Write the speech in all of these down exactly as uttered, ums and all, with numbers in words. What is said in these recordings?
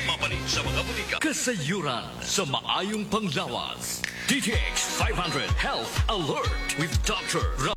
Mapalit sa mga butika. Kasayuran sa maayong panglawas. D T X five hundred Health Alert with Doctor Ra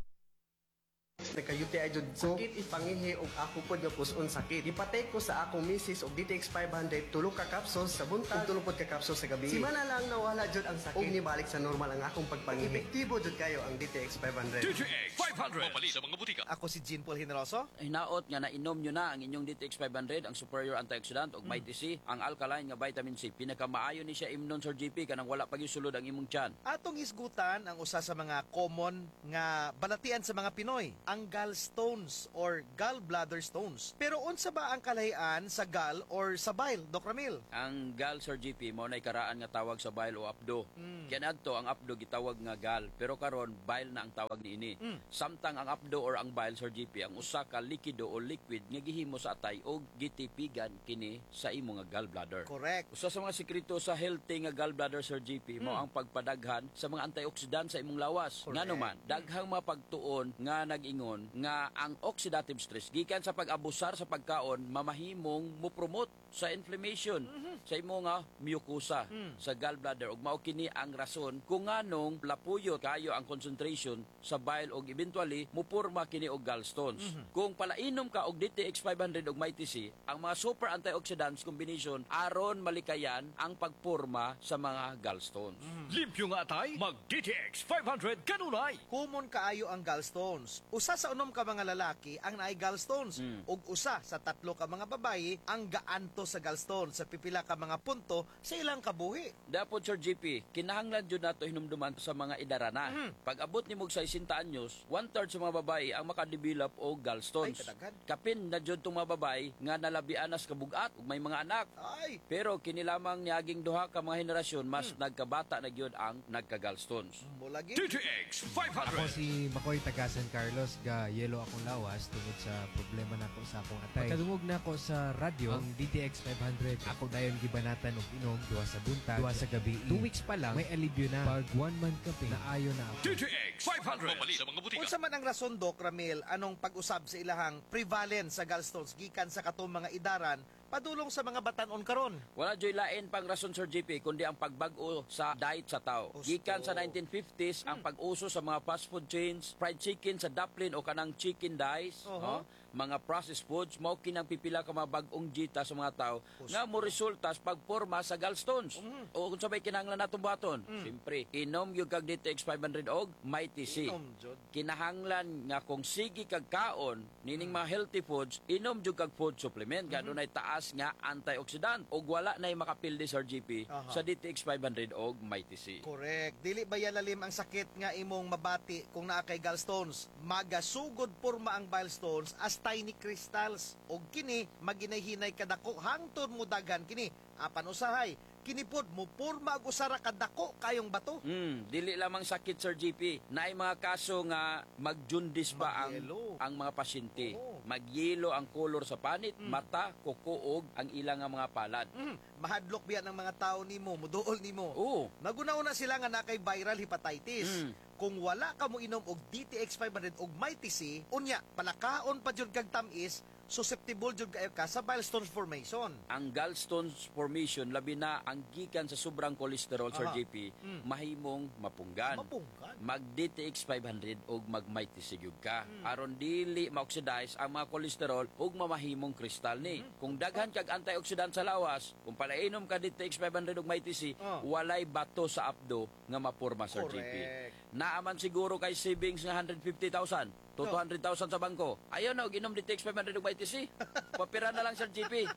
Nagka-U T I jud ko. Sakit ipangihi og ako pod nga puson sakit. Gipatake ko sa akong misis og D T X five hundred, tulo ka capsules sa buntag ug tulo pod ka capsules sa gabi. Simana lang nawala jud ang sakit ug nibalik sa normal ang akong pagpangihi. Epektibo jud kayo ang D T X five hundred. D T X five hundred. Mapalit sa mga butika. Ako si Jean Paul Generoso. Hinaot nga nainom nyo na ang inyong D T X five hundred, ang superior antioxidant, ug Mighty C, ang alkaline nga vitamin C. Pinakamaayo ni siya imnon, Sir J P, kanang wala pa sulod ang imong tiyan. Atong hisgutan ang usa sa mga common nga balatian sa mga Pinoy, ang gallstones or gallbladder stones. Pero unsa ba ang kalahian sa gall or sa bile, Doc Ramil? Ang gall, Sir J P, mao nay karaan nga tawag sa bile o apdo. Kaya adto ang apdo gitawag nga gall, pero karon bile na ang tawag niini. Samtang ang apdo or ang bile, Sir J P, ang usa ka likido o liquid nga gihimo sa atay og gitipigan kini sa imo nga gallbladder. Correct. Usa sa mga sekreto sa healthy nga gallbladder, Sir J P, mao ang pagpadaghan sa mga antioxidant sa imong lawas. Correct. Ngano man, daghang mga pagtuon nga nag-ingon nga ang oxidative stress gikan sa pag-abusar sa pagkaon mamahimong mo-promote sa inflammation sa imo nga mucosa sa gallbladder ug mao kini ang rason kung nganong lapuyo kayo ang concentration sa bile ug eventually mupurma kini og gallstones. Kung palainom ka og D T X five hundred ug Mighty C, ang mga super antioxidants combination aron malikayan ang pagporma sa mga gallstones. Limpyo nga atay, mag D T X five hundred kanunay. Common kaayo ang gallstones. Usa sa unom ka mga lalaki ang naay gallstones ug usa sa tatlo ka mga babayi ang gaanto sa gallstones sa pipila ka mga punto sa ilang kabuhi. Dapat, Sir J P, kinahanglan jud nato hinumduman sa mga idarana. Pag abot nimo og sesenta anyos, one third sa mga babae ang makadevelop og gallstones. Ay, kadaghan. Kapin na jud tong mga babae nga nalabian nas kabugat ug may mga anak. Ay, Pero kini lamang niaging duha ka mga henerasyon, mas nagkabata na gyud ang nagka-gallstones. Mulagi. D T X five hundred. Ako si Makoy taga San Carlos, ga yelo akong lawas tungod sa problema nako sa akong atay. Pagkadungog nako sa radyo ang D T X five hundred, ako dayon gibanatan og inom duha sa buntag, duha sa gabi. Two weeks pa lang may alibyo na. Pag one month kapin, naayo na ako. D T X five hundred. Mapalit sa mga butika. Unsa man ang rason, Doc Ramil, anong pag-usab sa ilahang prevalence sa gallstones gikan sa katong mga idaran padulong sa mga batanon karon? Wala joy lain pang rason, Sir J P, kundi ang pagbag-o sa diet sa tao. Husto. Gikan sa nineteen fifties ang pag-uso sa mga fast food chains, fried chicken sa Daplin o kanang chicken dice, Oho. no? Mga processed foods, mao kinang pipila ka mga bag-ong dieta sa mga tao nga mo resulta sa pagporma sa gallstones. O kung sabay kinahanglan natong buhaton, siyempre, inom gyud kag D T X five hundred og Mighty C. Inom jud. Kinahanglan nga kung sige kag kaon nining mga healthy foods, inom jud kag food supplement nga dunay taas nga antioxidant ug wala nay makapildi, Sir J P, Aha. sa D T X five hundred og Mighty C. Correct. Dili ba lalim ang sakit nga imong mabati kung naa kay gallstones? Magasugod porma ang bile stones as tiny crystals ug kini maginay-hinay kadako hangtod mo daghan kini. Apan usahay, kini pod mo porma og usa ra kadako kayong bato. Mm, dili lamang sakit, Sir J P. Naay mga kaso nga mag-jaundice ba ang Magyelo. Ang mga pasyente. Oo. Magyelo ang kolor sa panit, mata, kuko ug ang ilang nga mga palad. Mm, mahadlok biya ng mga tao nimo, muduol nimo. Oo. Naguna-una sila nga na kay viral hepatitis. Mm. Kung wala ka mo inom og D T X five hundred og Mighty C, unya palakaon pa jud kag tamis, susceptible jud kayo ka sa bile stones formation. Ang gallstones formation, labi na ang gikan sa sobrang kolesterol, Sir Aha. J P, Mm. mahimong mapunggan. Mapunggan. Mag D T X five hundred og mag Mighty C gyud ka. Mm. Aron dili ma-oxidize ang mga kolesterol ug mamahimong kristal ni. Mm. Kung daghan kag antioxidant sa lawas, kung palainom ka D T X five hundred og Mighty C, Oh. walay bato sa apdo nga mapurma, Sir J P. Correct. Naaman siguro kay savings nga one hundred fifty thousand to No. two hundred thousand sa bangko. Ayaw na, og inom D T X five hundred og Mighty C. Papira na lang, Sir J P.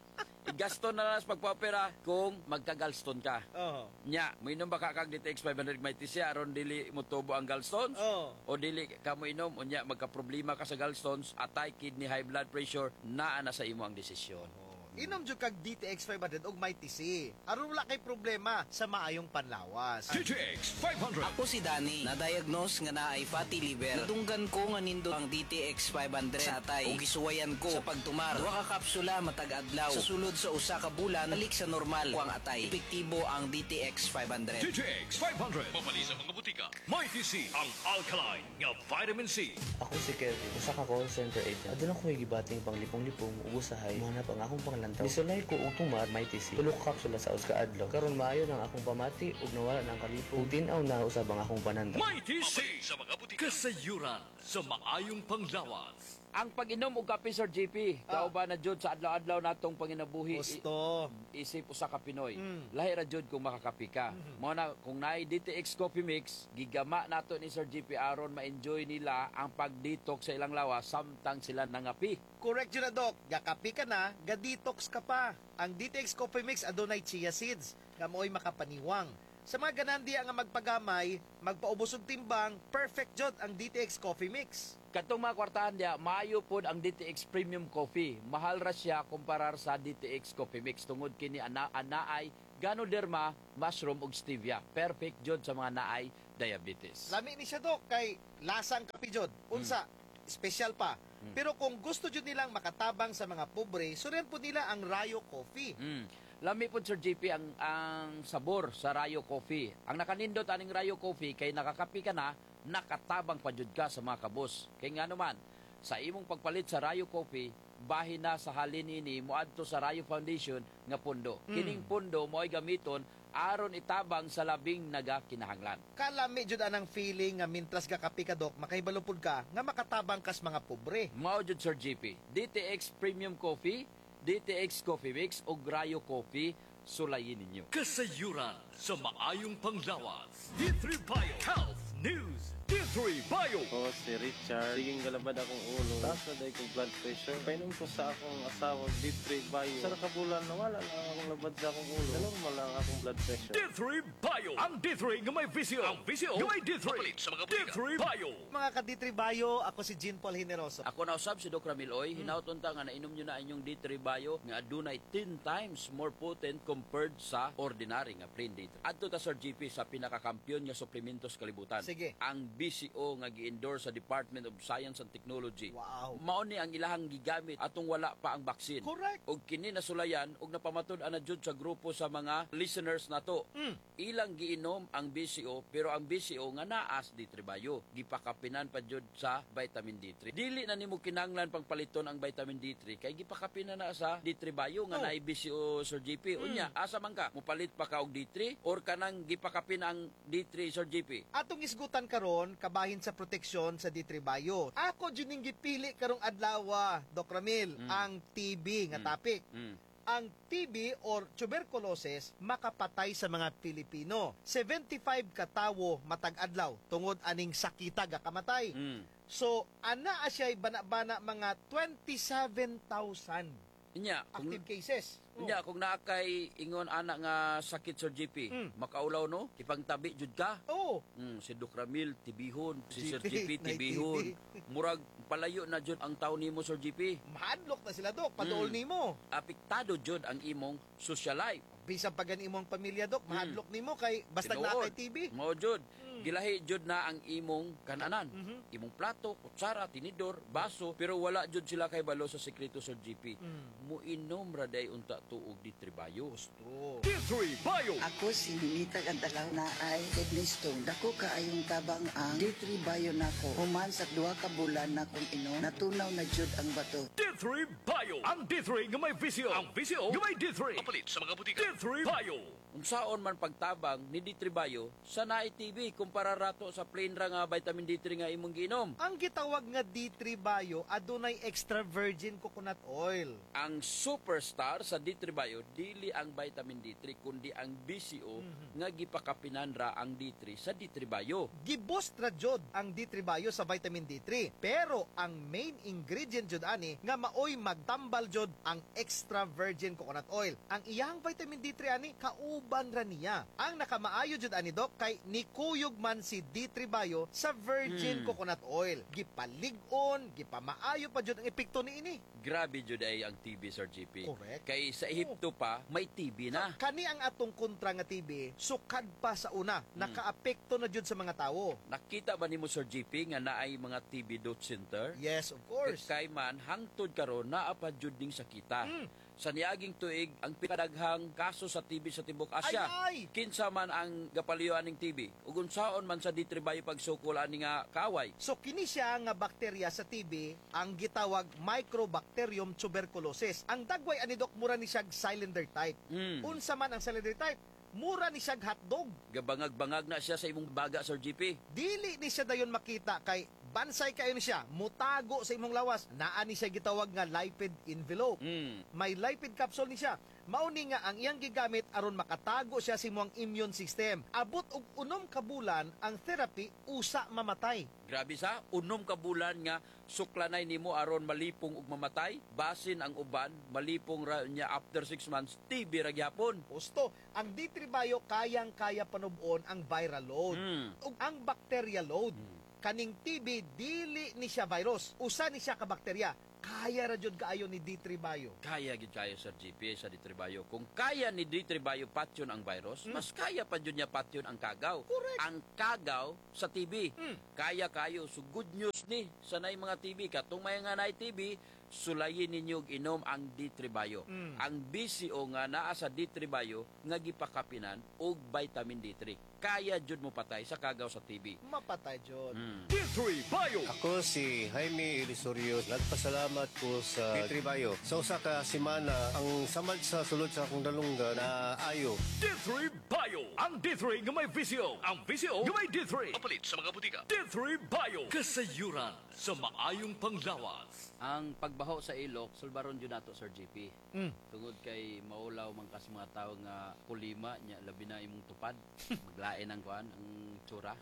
Igasto na lang sa pagpapira kung magka-gallstone ka. Oh. Nya, moinom ba ka kag D T X five hundred Mighty C aron dili motubo ang gallstones? Oh. O dili ka mo inom, unya magka-problema ka sa gallstones, atay, kidney, high blood pressure, naa na sa imo ang desisyon. Inom jud kag D T X five hundred og Mighty C. Aron wala kay problema sa maayong panlawas. D T X five hundred. Ako si Danny, na-diagnose nga naay fatty liver. Nadunggan ko nga nindot ang D T X five hundred sa atay ug gisuwayan ko sa pagtumar. Duha ka kapsula matag adlaw. Sa sulod sa usa ka bulan, balik sa normal ko ang atay. Epektibo ang D T X five hundred. D T X five hundred. Mapali sa mga butika. Mighty C, ang alkaline nga vitamin C. Ako si Kevin, usa ka call center agent. Aduna ko'y gibating panglipong-lipong ug usahay mohanap ang akong panglawas. lantaw. Nisulay ko og tumar Mighty C. Tulo ka kapsula sa usa ka adlaw. Karon maayo nang akong pamati ug nawala na ang kalipong. Ug tin-aw na usab ang akong panandaw. Mighty C. Sa mga butika. Kasayuran sa maayong panglawas. Ang pag-inom og kape, Sir J P, uh, ba na jud sa adlaw-adlaw natong panginabuhi. Gusto. Isip usa ka Pinoy. Mm. Lahi ra jud kung makakape ka. Mm-hmm. Mao na kung naay D T X Coffee Mix, gigama nato ni Sir J P aron ma-enjoy nila ang pag-detox sa ilang lawas samtang sila nangapi. Correct yun na, Doc. Gakapi ka na, ga-detox ka pa. Ang D T X Coffee Mix adunay chia seeds nga mo'y makapaniwang. Sa mga ganan diya nga magpagamay, magpaubos og timbang, perfect jud ang D T X Coffee Mix. Katong mga kwartahan diya, maayo pod ang D T X Premium Coffee. Mahal ra siya kumparar sa D T X Coffee Mix tungod kini ana anaay Ganoderma, mushroom ug stevia. Perfect jud sa mga naay diabetes. Lami ni siya, Dok, kay lasang kape jud. Unsa, special pa. Pero kung gusto jud nilang makatabang sa mga pobre, surian po nila ang Rayo Coffee. Mm. Lami po, Sir J P, ang ang sabor sa Rayo Coffee. Ang nakanindot aning Rayo Coffee kay nakakapi ka na, nakatabang pa jud ka sa mga kabus. Kay nga naman, sa imong pagpalit sa Rayo Coffee, bahin na sa halin ini moadto sa Rayo Foundation nga pondo. Mm. Kining pondo mo'y gamiton aron itabang sa labing nagakinahanglan. Kalami jud anang feeling nga mintras gakapi ka, Dok, makahibalo pud ka nga makatabang kas mga pobre. Mao jud, Sir J P. D T X Premium Coffee, D T X Coffee Mix ug Rayo Coffee, sulayin ninyo. Kasayuran sa maayong panglawas. D three Bio Health News. D three Bio. Ako si Richard. Siging galabad akong ulo. Taas na dahil kong blood pressure. Painom ko sa akong asawa D three Bio. Sa nakabulan nawala lang akong labad sa akong ulo. Na-normal lang akong blood pressure. D three Bio. Ang D three nga may V C O. Ang V C O nga may D three. Papalit sa mga butika. D three Bio. Mga ka-D three Bio, ako si Jean Paul Generoso. Ako na usab si Doc Ramil Oy, mm. Hinaut unta nga nainom nyo na inyong D three Bio nga adunay ten times more potent compared sa ordinary nga plain D three. Adto ta, Sir J P, sa pinakakampiyon nga suplementos kalibutan. Sige. Ang B C O nga gi-endorse sa Department of Science and Technology. Wow. Mao ni ang ilahang gigamit atong wala pa ang vaccine. Correct. Og kini nasulayan og napamatud-an na jud sa grupo sa mga listeners nato. Mm. Ilang giinom ang B C O pero ang B C O nga naas D three Bio. Gipakapinan pa jud sa vitamin D three. Dili na nimo kinahanglan pang paliton ang vitamin D three kay gipakapinan na sa D three Bio nga Oh. naay B C O, Sir J P. Unya, asa man ka? Mupalit pa ka og D three or kanang gipakapin ang D three, Sir J P? Atong isgutan karon kabahin sa proteksyon sa D three Bio. Ako jud ning gipili karong adlaw, Doc Ramil, Mm. ang T B nga Mm. topic. Mm. Ang T B or tuberculosis makapatay sa mga Pilipino. seventy-five katawo matag adlaw tungod aning sakita gakamatay. Mm. So, ana siya'y bana-bana mga twenty-seven thousand Unya, kung active cases. Oh. Unya, kung naa kay ingon ana nga sakit, Sir J P, Mm. makaulaw no, ipangtabi jud ka. Oh, Mm, si Doc Ramil, tibihon. Si Sir G P, J P, nay tibihon. T B. Murag palayo na jud ang tao nimo, Sir J P. Mahadlok na sila, Dok, paduol Mm. nimo. Apektado jud ang imong social life. Bisan pa gani imong pamilya, Dok, mahadlok nimo kay basta Tinuod. naa kay T B. Mao jud. Gilahi jud na ang imong kananan. Mhm. Imong plato, kutsara, tinidor, baso, pero wala jud sila kay balo sa sekreto, Sir J P. Mm. Muinom ra day unta tuog D three Bio. True. D three Bio. Ako si Ninita Gantalaw na ay kidney stone. Dako kaayong tabang ang D three Bio nako. Human sa duha ka bulan na kong inom, natunaw na jud ang bato. D three Bio. Ang D three nga may V C O. Ang V C O nga may D three. Papalit sa mga butika. D three Bio. Unsaon man pagtabang ni D three Bio sa naay T B kumpara rato sa plain ra nga vitamin D three nga imong giinom? Ang gitawag nga D three Bio adunay extra virgin coconut oil. Ang superstar sa D three Bio dili ang vitamin D three kundi ang B C O nga gipakapinan ra ang D three sa D three Bio. Giboost ra jud ang D three Bio sa vitamin D three. Pero ang main ingredient jud ani nga maoy magtambal jud ang extra virgin coconut oil. Ang iyang vitamin D three ani kauban ra niya. Ang nakamaayo jud ani, Dok, kay nikuyog man si D three Bio sa virgin Hmm. coconut oil. Gipalig-on, gipamaayo pa jud ang epekto niini. Grabe jud ay ang T B, Sir J P. Correct. Kay sa Ehipto pa may T B na. Kani ang atong kontra nga T B, sukad pa sa una, nakaapekto na jud sa mga tawo. Nakita ba nimo, Sir J P, nga naay mga T B dot center? Yes, of course. Kay man hangtod karon naa pa jud ning sakita. Mm. Sa niaging tuig ang pinakadaghang kaso sa T B sa tibuok Asia. Ay, ay! Kinsa man ang gapaliyo aning T B ug unsaon man sa D three Bio pagsukol ani nga kaaway? So kini siya nga bakterya sa T B ang gitawag Mycobacterium tuberculosis. Ang dagway ani, Dok, mura ni siyag cylinder type. Mm. Unsa man ang cylinder type? Mura ni siyag hotdog. Gabangag-bangag na siya sa imong baga, Sir G P. Dili ni siya dayon makita kay bansay kayo ni siya, mutago sa imong lawas. Naa ni siya gitawag nga lipid envelope. Mm. May lipid capsule ni siya. Mao ni nga ang iyang gigamit aron makatago siya sa imong immune system. Abot og unom ka bulan ang therapy usa mamatay. Grabe sa unom ka bulan nga suklanay nimo aron malipong ug mamatay. Basin ang uban malipong ra niya after six months, T B ra gyapon. Husto, ang D three Bio kayang-kaya panub-on ang viral load Mm. ug ang bacteria load. Kaning T B dili ni siya virus, usa ni siya ka bakterya. Kaya ra jud kaayo ni D three Bio. Kaya gyud kayo, Sir G P, sa D three Bio. Kung kaya ni D three Bio patyon ang virus, mas kaya pa jud niya patyon ang kagaw. Correct. Ang kagaw sa T B. Mm. Kaya kayo. So good news ni sa nay mga T B. Katong may nga nay T B, sulayin ninyo og inom ang D three Bio. Mm. Ang B C O nga naa sa D three Bio nga gipakapinan og vitamin D three. Kaya jud mo patay sa kagaw sa T B. Mapatay jud. Mm. D three Bio. Ako si Jaime Elisorio. Nagpasalamat ko sa D three Bio. Sa usa ka semana, ang samad sa sulod sa akong dalunggan na ayo. D three Bio. Ang D three nga may V C O. Ang V C O nga may D three. Papalit sa mga butika. D three Bio. Kasayuran sa maayong panglawas. Ang pagbaho sa ilok, sulbaron jud nato, Sir G P. Mm. Tungod kay maulaw man kas mga tawo nga kulima nya, labi na imong tupad. Maglain ang kuan, ang tsura.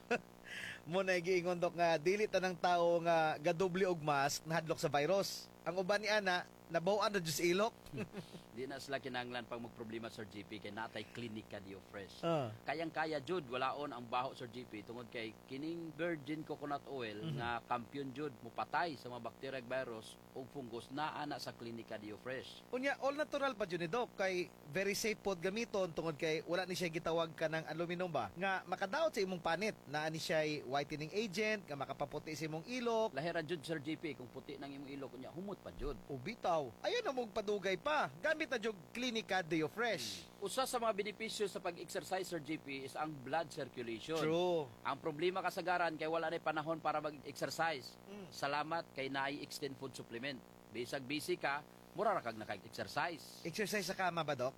Mo na giingon, Dok, nga dili tanang tao nga gadoble og mask nahadlok sa virus. Ang uban ni ana nabaw-an ra jud sa ilok. Di na sila kinahanglan pang magproblema, Sir G P, kay natay Klinika Dio Fresh. Ah. Kayang-kaya jud walaon ang baho, Sir G P, tungod kay kining virgin coconut oil Mhm. nga kampiyon jud mupatay sa mga bakterya, virus ug fungus naa na sa Klinika Dio Fresh. Unya all natural pa jud ni, Dok, kay very safe pod gamiton tungod kay wala ni siya gitawag kanang aluminum ba nga makadaot sa imong panit. Naa ni siya whitening agent nga makapaputi sa imong ilok. Lahira jud, Sir G P, kung puti nang imong ilok unya humot pa jud. O bitaw. Ayaw na mong padugay pa. Gamit na jud Klinika Dio Fresh. Usa sa mga benepisyo sa pag-exercise, Sir G P, is ang blood circulation. True. Ang problema kasagaran kay wala na panahon para mag-exercise. Mm. Salamat kay naay Extend Food Supplement. Bisag busy ka, mura ra kag naka-exercise. Exercise sa kama ba, Dok?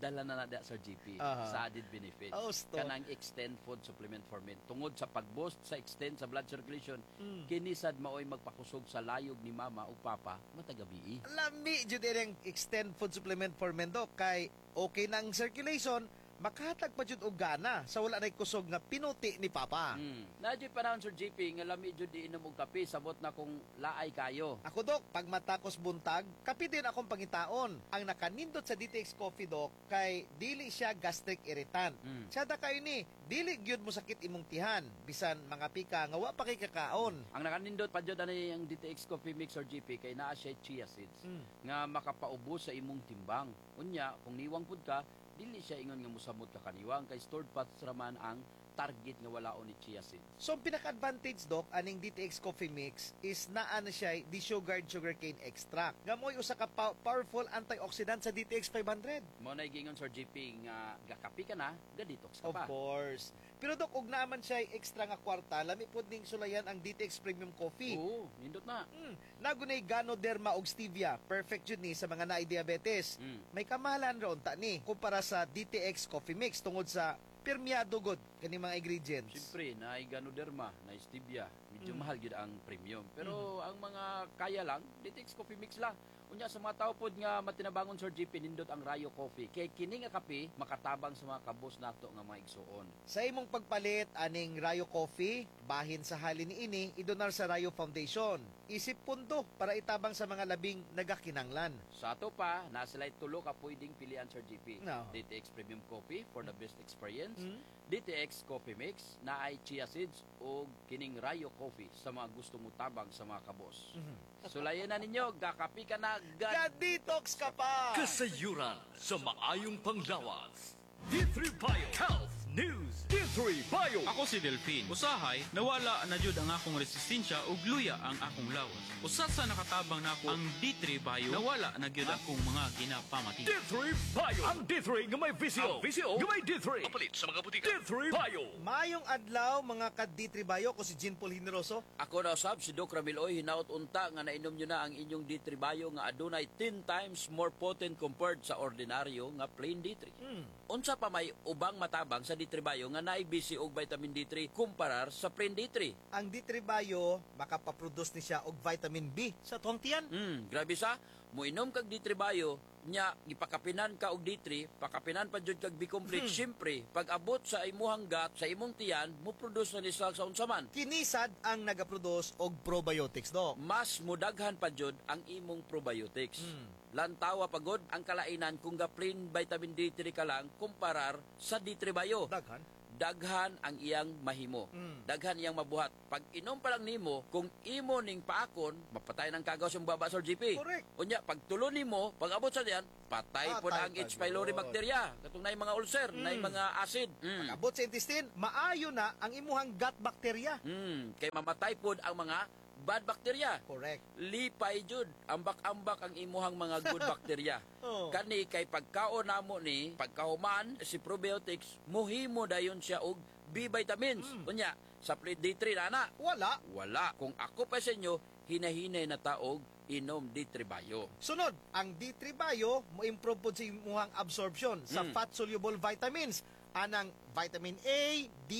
Dala na na da, Sir G P, Aha. sa added benefits. Oh, sto. Kanang Extend Food Supplement for Men. Tungod sa pag-boost sa extend sa blood circulation, Mm. kini sad maoy magpakusog sa layog ni mama ug papa matag gabii. Lami jud ang Extend Food Supplement for Men, Dok, kay okay na ang circulation, makahatag pa jud og gana sa wala nay kusog nga pinuti ni papa. Mm. Naa juy panahon, Sir G P, nga lami jud iinom og kape, sabot na kung laay kayo. Ako, Dok, pag matakos buntag, kape din akong pangitaon. Ang nakanindot sa D T X Coffee, Dok, kay dili siya gastric irritant. Mm. Tsada kayo ni, dili gyud mo sakit imong tihan, bisan mga pika nga wa pa kay kakaon. Ang nakanindot pa jud ani ang D T X Coffee Mix, Sir G P, kay naa siya chia seeds Mm. nga makapaubos sa imong timbang. Unya, kung niwang pud ka, dili siya ingon nga musamot ka kaniwang kay stored fats raman ang target nga walaon ni chia seeds. So, ang pinaka-advantage, Dok, aning D T X Coffee Mix is naa na siya desugared sugarcane extract. Nga mo'y usa ka pow- powerful antioxidant sa D T X five hundred. Mo na gingon, Sir G P, nga gakapi ka na, ga-detox ka Of pa. course. Pero Dok, og naman siya extra nga kwarta, lami pod ning sulayan ang D T X Premium Coffee. Oo, nindot na. Mm, nagunay Ganoderma og stevia. Perfect jud ni sa mga naay diabetes. Mm. May kamahalan ra unta ni kumpara sa D T X Coffee Mix tungod sa pirmiyado gud kani mga ingredients. Siyempre, naay Ganoderma, naay stevia, medyo Mm. mahal gyud ang premium. Pero ang mga kaya lang, D T X Coffee Mix lang. Unya sa mga tao pod nga matinabangon, Sir G P, nindot ang Rayo Coffee. Kay kini nga kape makatabang sa mga kabos nato nga mga igsuon. Sa imong pagpalit aning Rayo Coffee, bahin sa halin niini idonar sa Rayo Foundation. Isip pundo para itabang sa mga labing nagakinanglan. Sa ato pa, naa sila'y tulo ka pwedeng pilian, Sir G P. No. D T X Premium Coffee for the best experience, Mm. D T X Coffee Mix na ay chia seeds o kining Rayo Coffee sa mga gusto mo tabang sa mga kabos. Mhm. Sulayan na ninyo, gakapi ka na, ga Ga-detox ka pa! Kasayuran sa maayong panglawas. D three Bio Health News. D three D three Bio. Ako si Delphine. Usahay, nawala na jud ang akong resistensya ug luya ang akong lawas. Usa sa nakatabang nako ang D three Bio, nawala na gyud akong mga ginapamati. D three Bio. Ang D three nga may V C O. Ang V C O nga may D three. Papalit sa mga butika. D three Bio. Mayong adlaw, mga ka D three Bio, ko si Jean Paul Generoso. Ako na usab si Doc Ramil Oy, hinaot unta nga nainom nyo na ang inyong D three Bio nga adunay ten times more potent compared sa ordinaryo nga plain D three. Hmm. Unsa pa may ubang matabang sa D three Bio nga naay B C og vitamin D three kumparar sa plain D three? Ang D three Bio makapaproduce ni siya og vitamin B sa tuwang tiyan. Hmm, grabe sa moinom kag D three Bio nya gipakapinan ka og D three, pakapinan pa jud kag B complete. Hmm. Syempre, pag abot sa imuhang gut, sa imong tiyan, mo produce na ni siya sa unsa man. Kinisad ang nagaproduce og probiotics, Dok. Mas mudaghan pa jud ang imong probiotics. Hmm. Lantawa pagod ang kalainan kung ga plain vitamin D three ka lang kumparar sa D three Bio. Daghan. Daghan ang iyang mahimo. Mm. Daghan iyang mabuhat. Pag inom pa lang nimo, kung imo ning paakon, mapatay ng kagaw sa baba sa G P. Correct. Unya, pag tulo nimo, pag abot sa diyan, patay po na ang Patay H. pa pylori yun. bacteria. Katong naay mga ulcer, naay Mm. mga acid. Mm. Pag abot sa intestine, maayo na ang imuhang gut bacteria. Mm. Kay mamatay pod ang mga bad bacteria. Correct. Lipay jud, ambak-ambak ang imuhang mga good bacteria. Oh. Kani kay pagkaon namo ni, pagkahuman si probiotics, muhimo dayon siya og B vitamins. Unya, sa plain D three na na? Wala. Wala. Kung ako pa sa inyo, hinahinay na taog inom D three Bio. Sunod, ang D three Bio mo improve pod sa imuhang absorption sa Mm. fat-soluble vitamins anang vitamin A, D,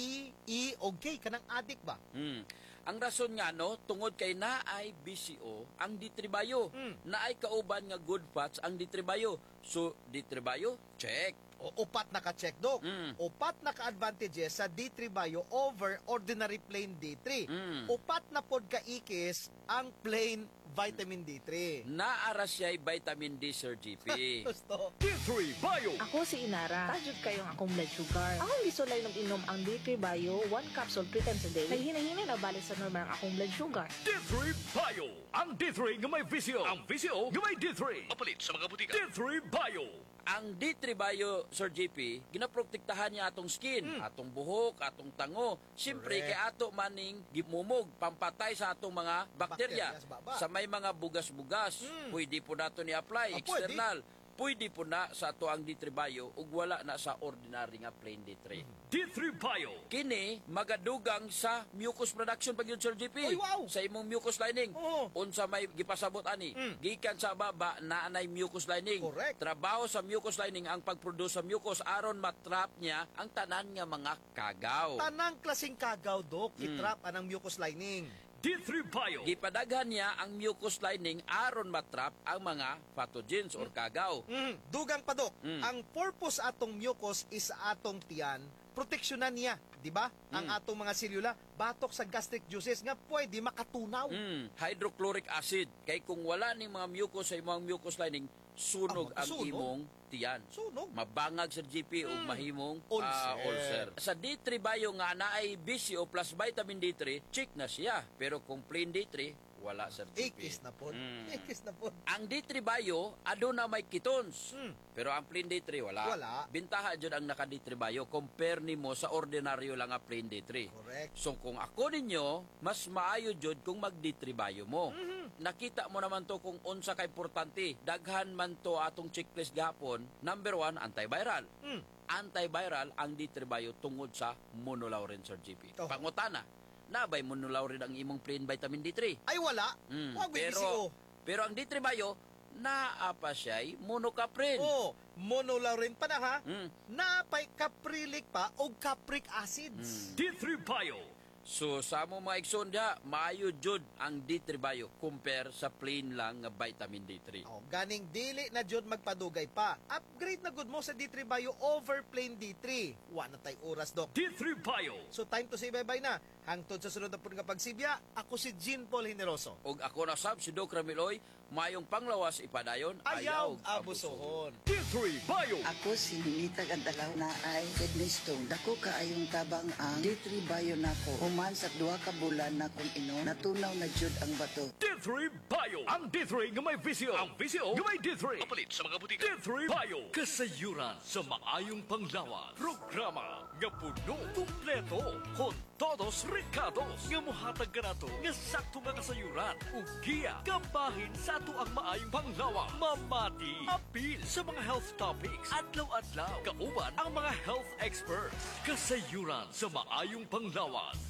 E o K, kanang adik ba? Mm. Ang rason nga no, tungod kay naay B C O ang D three Bio. Mm. Naay kauban nga good fats ang D three Bio. So D three Bio, check. O upat na ka-check, Dok. Mm. Upat na ka-advantages sa D three Bio over ordinary plain D three. Mm. Upat na pod ka-ikis ang plain vitamin D three. Naara siya'y vitamin D, Sir G P. Gusto. D three Bio. Ako si Inara. Tajud kayong akong blood sugar. Akong gisulay ng inom ang D three Bio, one capsule three times a day. Naghinay-hinay na balik sa normal ang akong blood sugar. D three Bio. Ang D three nga may V C O. Ang V C O nga may D three. Papalit sa mga butika. D three Bio. Ang D three Bio, Sir G P, ginaprotektahan niya atong skin, atong buhok, atong tango. Siyempre, Correct. kay ato maning gimumog, pampatay sa atong mga bakterya. Bakterya sa baba. Sa may mga bugas-bugas, Mm. pwede po nato ni-apply, Ah, pwede. External. Pwede po na sa ato ang D three Bio ug wala na sa ordinary nga plain D three. D three Bio. Kini magadugang sa mucus production pag yun, Sir G P. Uy, wow! Sa imong mucus lining. Oo. Unsa may gipasabot ani? Mm. Gikan sa baba na anay mucus lining. Correct. Trabaho sa mucus lining ang pagproduce sa mucus aron matrap niya ang tanan nga mga kagaw. Tanang klaseng kagaw, Dok, Mm. itrap anang mucus lining. D three Bio. Gipadaghan niya ang mucus lining aron matrap ang mga pathogens or kagaw. Mm. Dugang pa, Dok, Mm. ang purpose atong mucus is sa atong tiyan, proteksyonan niya, di ba? Ang Mm. atong mga selula batok sa gastric juices nga pwede makatunaw. Mm, hydrochloric acid kay kung wala ning mga mucus sa imong mucus lining, sunog Ah, ang sunog? imong tiyan. Sunog. Mabangag sa G P ug mahimong Ulcer. ah, ulcer. Sa D three Bio nga naay B C O plus vitamin D three, check na siya. Pero kung plain D three, wala, Sir G P. Ikis na po. Mm. Ikis na po. Ang D three Bio, aduna may ketones. Mm. Pero ang plain D three, wala. Wala. Bintaha jud ang naka D three Bio compare nimo sa ordinaryo lang nga plain D three. Correct. So kung ako ninyo, mas maayo jud kung mag D three Bio mo. Mm-hmm. Nakita mo naman to kung unsa ka importante. Daghan man to atong checklist gahapon. Number one, antiviral. Mm. Antiviral ang D three Bio tungod sa monolaurin, Sir G P. Oh. Pangutana, nabay monolaurin ang imong plain vitamin D three? Ay wala. Mm, Wag may pero, B C O. pero ang D three Bio, naa pa siya'y monocaprin. Oh, monolaurin pa na ha. Mm. Napay caprylic pa o capric acids. D three Bio. So sa amo mga igsoon diha, maayo jud ang D three Bio compare sa plain lang nga vitamin D three. Oh, ganing dili na jud magpadugay pa. Upgrade na gud mo sa D three Bio over plain D three. Wa na tay oras, Dok. D three Bio. So time to say bye-bye na. Hangtod sa sunod na pud nga pagsibya, ako si Jean Paul Generoso. Og ako na sab si Doc Ramiloy, mayong panglawas ipadayon, Ayaw abusohon. D three Bio. Ako si Ninita Gandalaw na ay kidney stone. Dako kaayong tabang ang D three Bio nako. Human sa duha ka bulan na kong inom, natunaw na jud ang bato. D three D three Bio. Ang D three nga may V C O. Ang V C O nga may D three. Papalit sa mga butika. D three Bio. Kasayuran sa maayong panglawas. Programa nga puno, kumpleto, con todos recados nga muhatag kanato nga sakto nga kasayuran ug giya kabahin sa ato ang maayong panglawas. Mamati, apil sa mga health topics, adlaw-adlaw, kauban ang mga health experts. Kasayuran sa maayong panglawas.